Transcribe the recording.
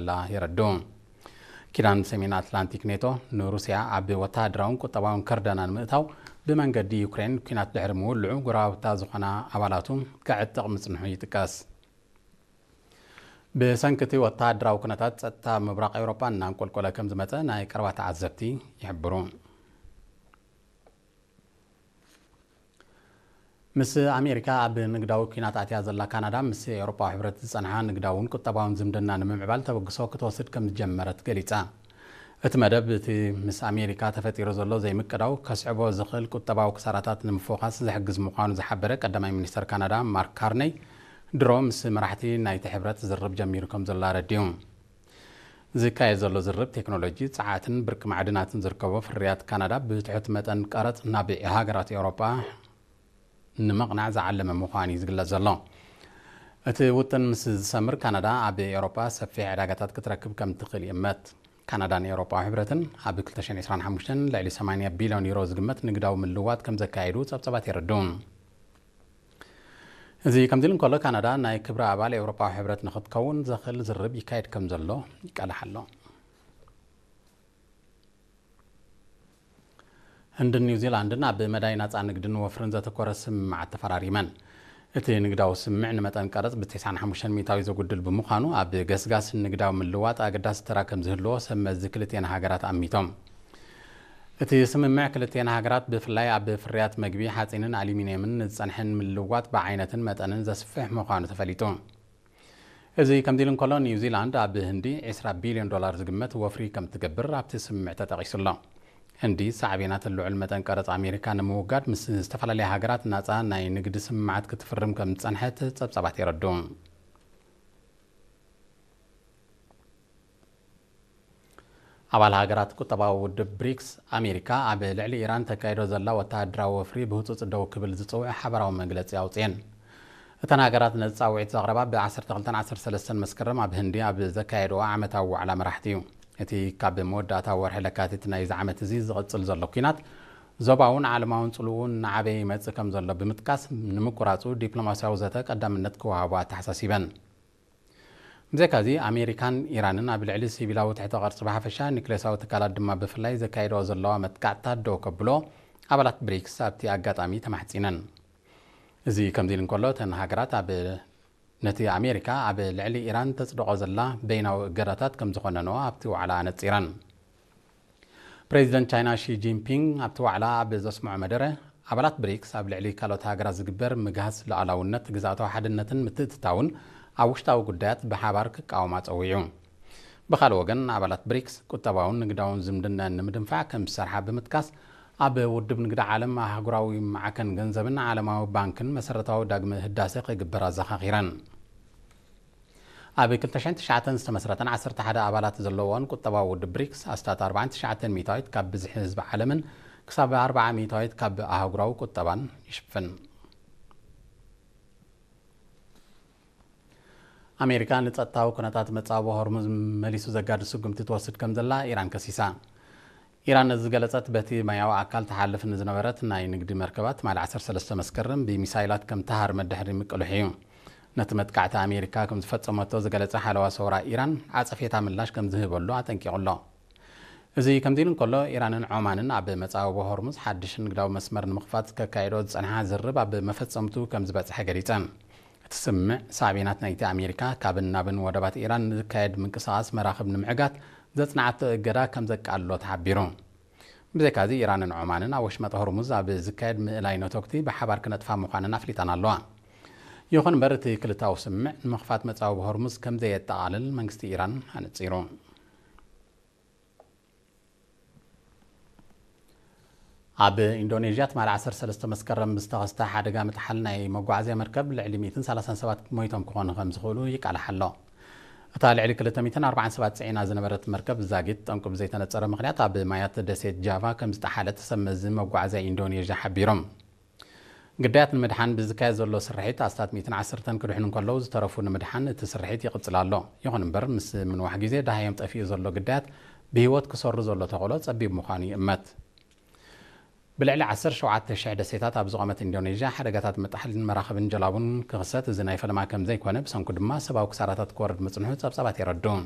ከምዘላ የረድኡ። ኪዳን ሰሜን ኣትላንቲክ ኔቶ ንሩስያ ኣብ ወተሃደራውን ቁጠባውን ከርደና ንምእታው ብመንገዲ ዩክሬን ኲናት ድሕሪ ምውልዑ፣ ጎረባብታ ዝኾና ኣባላቱ ከዕጥቕ ምጽንሑ ይጥቀስ። ብሰንኪ እቲ ወተሃደራዊ ኩነታት፣ ጸጥታ ምብራቕ ኤውሮጳ እናንቆልቆለ ከም ዝመጸ ናይ ቀረባ ተዓዘብቲ ይሕብሩ። ምስ ኣሜሪካ ኣብ ንግዳዊ ኲናት ኣትያ ዘላ ካናዳ፣ ምስ ኤውሮጳዊ ሕብረት ዝጸንሓ ንግዳውን ቁጠባውን ዝምድና ንምምዕባል ተበግሶ ክትወስድ ከም ዝጀመረት ገሊጻ። እቲ መደብ፣ እቲ ምስ ኣሜሪካ ተፈጢሩ ዘሎ ዘይምቅዳው ከስዕቦ ዝኽእል ቁጠባዊ ክሳራታት ንምፍዋስ ዝሕግዝ ምዃኑ ዝሓበረ ቀዳማይ ሚኒስተር ካናዳ ማርክ ካርነይ፣ ድሮ ምስ መራሕቲ ናይቲ ሕብረት ዝርርብ ጀሚሩ ከም ዘሎ ኣረዲኡ። ዝካየድ ዘሎ ዝርርብ፣ ቴክኖሎጂ፣ ጸዓትን ብርቂ ማዕድናትን ዝርከቦ ፍርያት ካናዳ ብትሑት መጠን ቀረጽ ናብ ሃገራት ኤውሮጳ ንምቕናዕ ዝዓለመ ምዃኑ እዩ ዝግለጽ ዘሎ። እቲ ውጥን ምስ ዝሰምር፣ ካናዳ ኣብ ኤውሮጳ ሰፊሕ ዕዳጋታት ክትረክብ ከም ትኽእል ይእመት። ካናዳን ኤውሮጳዊ ሕብረትን ኣብ ክልተ ሽሕን ዕስራን ሓሙሽተን ልዕሊ ሰማንያ ቢልዮን ዩሮ ዝግመት ንግዳዊ ምልውዋጥ ከም ዘካየዱ ጸብጻባት የረድኡ። እዚ ከምዚ ኢሉ እንከሎ፣ ካናዳ ናይ ክብሪ ኣባል ኤውሮጳዊ ሕብረት ንኽትከውን ዘኽእል ዝርርብ ይካየድ ከም ዘሎ ይቃላሕ ኣሎ። ህንድን ኒውዚላንድን ኣብ መዳይ ናጻ ንግድን ወፍርን ዘተኮረ ስምምዓት ተፈራሪመን። እቲ ንግዳዊ ስምምዕ ንመጠን ቀረጽ ብ ተስዓን ሓሙሽተን ሚእታዊ ዘጉድል ብምዃኑ፣ ኣብ ገስጋስ ንግዳዊ ምልዋጥ ኣገዳሲ ተራ ከም ዝህልዎ ሰብ መዚ ክልቲኤን ሃገራት ኣሚቶም። እቲ ስምምዕ ክልቲኤን ሃገራት ብፍላይ ኣብ ፍርያት መግቢ፣ ሓጺንን ኣሉሚንየምን ንዝጸንሐን ምልዋጥ ብዓይነትን መጠንን ዘስፍሕ ምዃኑ ተፈሊጡ። እዚ ከምዚ ኢሉ እንከሎ፣ ኒውዚላንድ ኣብ ህንዲ ዕስራ ቢልዮን ዶላር ዝግመት ወፍሪ ከም ትገብር ኣብቲ ስምምዕ ተጠቒሱ ኣሎ። ህንዲ ሳዕቤናት ልዑል መጠን ቀረጽ ኣሜሪካ ንምውጋድ ምስ ዝተፈላለያ ሃገራት ናጻ ናይ ንግዲ ስምምዓት ክትፍርም ከም ዝጸንሐት ጸብጻባት የረድኡ። ኣባል ሃገራት ቁጠባዊ ውድብ ብሪክስ፣ ኣሜሪካ ኣብ ልዕሊ ኢራን ተካይዶ ዘላ ወተሃደራዊ ወፍሪ ብህጹጽ ደው ክብል ዝጽውዕ ሓባራዊ መግለጺ ኣውጽኤን። እተን ሃገራት ነዚ ጻውዒት ዘቕረባ ብ ዓሰርተ ክልተን ዓሰርተ ሰለስተን መስከረም ኣብ ህንዲ ኣብ ዘካየድኦ ዓመታዊ ዋዕላ መራሕቲ እዩ። እቲ ካብ መወዳእታ ወርሒ ለካቲት ናይዚ ዓመት እዚ ዝቕጽል ዘሎ ኲናት፣ ዞባውን ዓለማውን ጽልውኡ እናዓበየ ይመጽእ ከም ዘሎ ብምጥቃስ፣ ንምቁራጹ ዲፕሎማስያዊ ዘተ ቀዳምነት ክወሃቦ ኣተሓሳሲበን። ብዘይካዚ፣ ኣሜሪካን ኢራንን ኣብ ልዕሊ ሲቪላዊ ትሕተ ቅርጺ ብሓፈሻ፣ ኒክሌሳዊ ትካላት ድማ ብፍላይ ዘካይድኦ ዘለዋ መጥቃዕትታት ደው ከብሎ ኣባላት ብሪክስ ኣብቲ ኣጋጣሚ ተማሕጺነን። እዚ ከምዚ ኢሉ እንከሎ፣ እተን ሃገራት ኣብ፣ ነቲ ኣሜሪካ ኣብ ልዕሊ ኢራን ተጽድቖ ዘላ በይናዊ እገዳታት ከም ዝኾነንኦ ኣብቲ ዋዕላ ኣነጺረን። ፕሬዚደንት ቻይና ሺ ጂንፒንግ ኣብቲ ዋዕላ ኣብ ዘስምዖ መደረ፣ ኣባላት ብሪክስ ኣብ ልዕሊ ካልኦት ሃገራት ዝግበር ምግሃስ ሉዓላውነት፣ ግዝኣታዊ ሓድነትን ምትእትታውን ኣብ ውሽጣዊ ጉዳያት ብሓባር ክቃወማ ጸዊዑ። ብኻልእ ወገን፣ ኣባላት ብሪክስ ቁጠባውን ንግዳውን ዝምድናን ንምድንፋዕ ከም ዝሰርሓ ብምጥቃስ፣ ኣብ ውድብ ንግዲ ዓለም፣ ኣህጉራዊ ማዕከን ገንዘብን ዓለማዊ ባንክን መሰረታዊ ዳግመ ህዳሰ ክግበር ኣዘኻኺረን። ኣብ ክልተ ሽሕን ትሽዓተን ዝተመስረተን ዓሰርተ ሓደ ኣባላት ዘለዎን ቁጠባዊ ውድብ ብሪክስ፣ ኣስታት ኣርባዓን ትሽዓተን ሚእታዊት ካብ ብዝሒ ህዝቢ ዓለምን ክሳብ ኣርባዓ ሚእታዊት ካብ ኣህጉራዊ ቁጠባን ይሽፍን። ኣሜሪካ ንጸጥታዊ ኩነታት መጻብቦ ሆርሙዝ መሊሱ ዘጋድድ ስጉምቲ ትወስድ ከም ዘላ ኢራን ከሲሳ። ኢራን ነዚ ዝገለጸት፣ በቲ ማያዊ ኣካል ትሓልፍ ንዝነበረት ናይ ንግዲ መርከባት ትማሊ ዓሰርተ ሰለስተ መስከረም ብሚሳይላት ከም ትሃርመት ድሕሪ ምቅልሑ እዩ። ነቲ መጥቃዕቲ ኣሜሪካ ከም ዝፈጸመቶ ዝገለጸ ሓለዋ ሰውራ ኢራን፣ ዓጸፌታ ምላሽ ከም ዝህበሉ ኣጠንቂቑ ኣሎ። እዚ ከምዚ ኢሉ እንከሎ፣ ኢራንን ዖማንን ኣብ መጻብቦ ሆርሙዝ ሓድሽ ንግዳዊ መስመር ንምኽፋት ከካይዶ ዝጸንሓ ዝርርብ ኣብ መፈጸምቱ ከም ዝበጽሐ ገሊጸን። እቲ ስምምዕ፣ ሳዕቤናት ናይቲ ኣሜሪካ ካብን ናብን ወደባት ኢራን ንዝካየድ ምንቅስቓስ መራኽብ ንምዕጋት ዘጽንዓቶ እገዳ ከም ዘቃልሎ ተሓቢሩ። ብዘይካዚ፣ ኢራንን ዖማንን ኣብ ወሽመጥ ሆርሙዝ ኣብ ዝካየድ ምእላይ ነቶግቲ ብሓባር ክነጥፋ ምዃነን ኣፍሊጠን ኣለዋ። ይኹን እምበር፣ እቲ ክልታዊ ስምምዕ ንምኽፋት መጻብቦ ሆርሙዝ ከም ዘየጠቓልል መንግስቲ ኢራን ኣነጺሩ። ኣብ ኢንዶኔዥያ ትማሊ ዓሰርተ ሰለስተ መስከረም ብዝተኸስተ ሓደጋ ምጥሓል ናይ መጓዓዝያ መርከብ ልዕሊ ሚእትን ሰላሳን ሰባት ሞይቶም ክኾኑ ከም ዝኽእሉ ይቃላሕ ኣሎ። እታ ልዕሊ ክልተ ሚእትን ኣርባዓን ሰባት ጽዒና ዝነበረት መርከብ ዛጊት ጠንቁ ብዘይተነጸረ ምኽንያት ኣብ ማያት ደሴት ጃቫ ከም ዝጠሓለት ሰብ መዚ መጓዓዝያ ኢንዶኔዥያ ሓቢሮም። ግዳያት ንምድሓን ብዝካየድ ዘሎ ስርሒት ኣስታት ሚእትን ዓሰርተን ክድሕኑ እንከለዉ፣ ዝተረፉ ንምድሓን እቲ ስርሒት ይቕጽል ኣሎ። ይኹን እምበር፣ ምስ ምንዋሕ ግዜ ደሃዮም ጠፊኡ ዘሎ ግዳያት ብህይወት ክሰሩ ዘሎ ተኽእሎ ጸቢብ ምዃኑ ይእመት። ብልዕሊ ዓሰርተ ሸውዓተ ሽሕ ደሴታት ኣብ ዝቖመት ኢንዶኔዥያ፣ ሓደጋታት ምጥሓልን መራኽብን ጀላቡን ክኽሰት እዚ ናይ ፈለማ ከም ዘይኮነ፣ ብሰንኩ ድማ ሰብኣዊ ክሳራታት ክወርድ ምጽንሑ ጸብጻባት የረድኡ።